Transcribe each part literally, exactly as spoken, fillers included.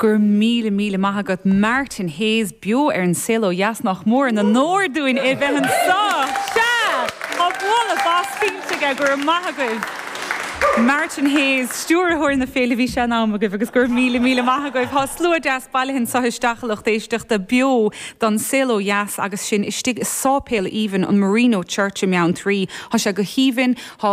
Go raibh míle míle maith agat Martin Hayes beo ar an Saol Ó Dheas nach mór an onóir dúinn é bheith anseo. Sea Tá bualadh bos tuillte go raibh maith agaibh. Martin Hayes, stiúrthóir na féile bhí sé in am agaibh agus go raibh míle míle maith agaibh. Tá slua deas bailithe anseo isteach a lucht éisteachta beo don Saol Ó Dheas agus sin istigh i sáipéal aoibhinn an Marino Church i mBeanntraí. Tá sé go haoibhinn tá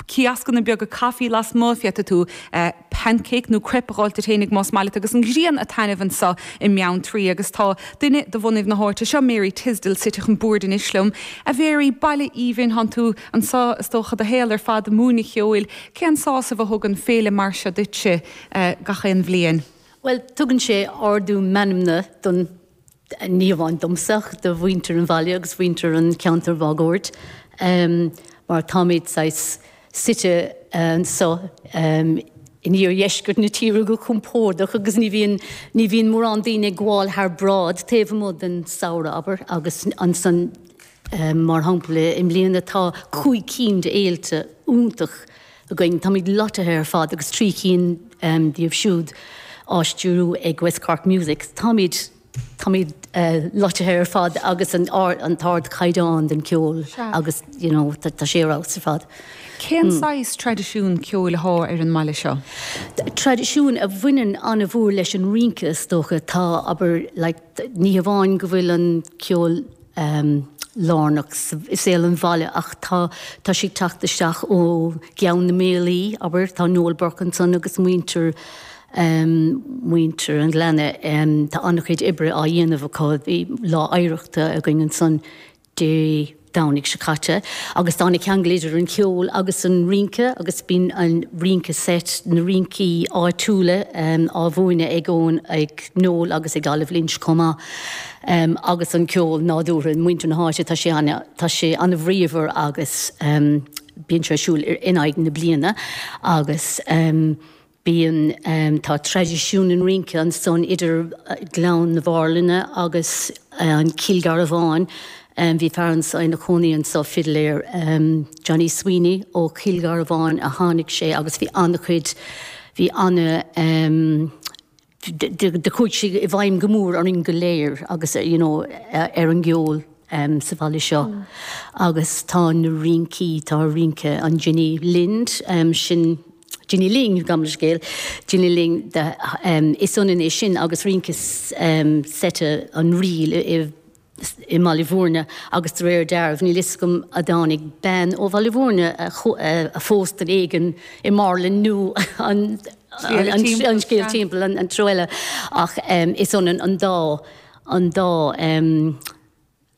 cioscanna beaga caife lasmuigh féadfaidh tú uh, pancake nó crepe a fháil féinig más maith agus an ghrian ag taitneamh anseo i mBeanntraí agus tá duine de bhunadh na háite seo Mary Tisdale suite chun boird anois liom. A Mhary baile aoibhinn tá tú anseo is dócha do shaol ar fad múineadh ceoil, cén sásamh a thugann féile mar seo duitse uh, gach aon bhliain. Well, tugann sé ardú meanmna don ní hamháin domsa do mhuintir an bhaile agus mhuintir an cheantair máguaird. Um, mar táimid saghas suite anseo um, in iardheisceart na tíre go compordach agus ní bhíonn ní bhíonn mórán daoine ag gabháil thar bráid taobh amuigh den samhradh abair agus ansan um, mar shampla i mbliana tá cúig cinn de fhéilte iontach againn táimid loitithe ar fad agus trí cinn um, díobh siúd á stiúradh ag West Cork Music. Táimid Táimid uh, loitithe ar fad agus an, an t-ardchaighdeán den ceol agus you know, tá sé ar fad. Cén saghas traidisiún ceoil atá ar an mbaile seo? Traidisiún a bhaineann an-mhór leis an rince is dócha tá abair like, ní hamháin go bhfuil an ceol um, lárnach i saol an bhaile ach tá tá sé teacht isteach ó Ghleann na Mílí abair tá Noel Burke ansan agus muintir um, muintir an Ghleanna um, tá an-chuid oibre á dhéanamh acu bhí lá oidhreachta againn ansan Dé Domhnaigh seo caite, agus tá ceangal idir an ceol agus an rince agus bíonn an rince seit na rincí áitiúla um, á mhúineadh ag ón ag Noel agus ag Olive Lynch chomh maith. Um, agus an ceol nádúrtha muintir na háite tá sé tá sé an-bhríomhar agus um, bíonn sé siúl in aghaidh na bliana agus um, bíonn um, tá traidisiún an rince ansan idir Gleann na Bharlainne agus uh, an Cill Garbháin. Um, bhí fear anso ina chónaí anseo fidléir um, Johnny Sweeney ó Chill Garbháin a tháinig sé agus bhí an-chuid bhí an um, de chuaigh sé i bhfeidhm go mór ar an go léir agus you know, ar an gceol um, sa bhaile seo. Mm. Agus tá na rincí tá rince an Ginny Lind um, sin Ginny Ling gabh mo leithscéal Ginny Ling de, um, is ionann é sin agus rince um, seite an ríl i i mBaile Bhúirne agus de réir dealraimh níl a fhios agam an dtáinig bean ó Bhaile Bhúirne a phós duine éigin i mBarlainn nó an an scéal timpeall an treo eile ach um, is ionann an dá an dá um,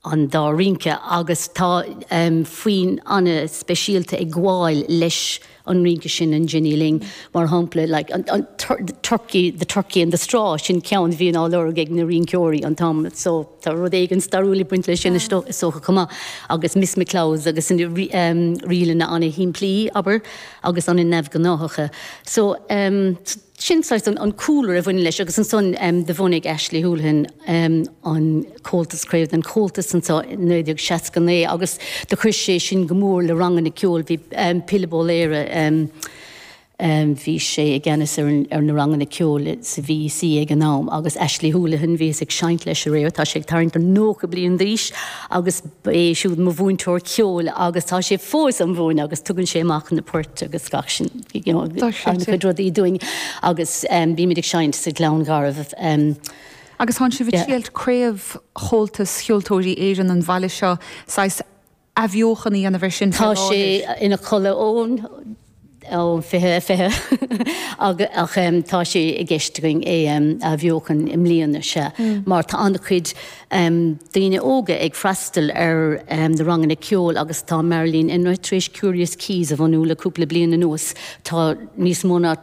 an dá rince agus tá um, foinn an-speisialta ag gabháil leis an rince sin an Ginny Ling mar shampla like, an, an tur turkey the turkey and the straw sin ceann bhíonn á lorg ag na rinceoirí an t-am so tá rud éigin stairiúil ag baint leis sin is dócha chomh maith agus Miss McCloud agus an um, ríleanna an-shimplí abair agus an-neamhghnách so um, sin an, an cúlra a bhain leis agus ansan um, de bhunaigh Ashley Houlihan um, an Comhaltas craobh den Chomhaltas anseo naoi déag seasca naoi agus do chuir sé sin go mór le ranganna ceoil bhí um, Pilib Ó Laoghaire um, um, bhí sé i gceannas ar, ar na ranganna ceoil sa VEC ag an am agus Ashley Houlihan bhíos ag seinnt leis aréir tá sé ag tarraingt ar nócha bliain d'aois agus é siúd mo mhúinteoir ceoil agus tá sé fós á mhúineadh agus tugann sé amach na poirt agus gach sin you know, an-chuid rudaí dúinn agus um, bímid ag seinnt sa Ghleann Garbh. Um, Agus tá sibh ag triail craobh Chomhaltas Cheoltóirí Éireann an bhaile seo saghas athbheochan a dhéanamh air sin Tá sé ina chodladh ón ó fiche fiche ach um, tá sé i gceist againn é um, athbheochan i mbliana sé mm. mar tá an-chuid um, daoine óga ag freastal ar um, na ranganna ceoil agus tá Marilyn Enright tar éis Curious Keys a bhunú le cúpla bliain anuas tá níos mó ná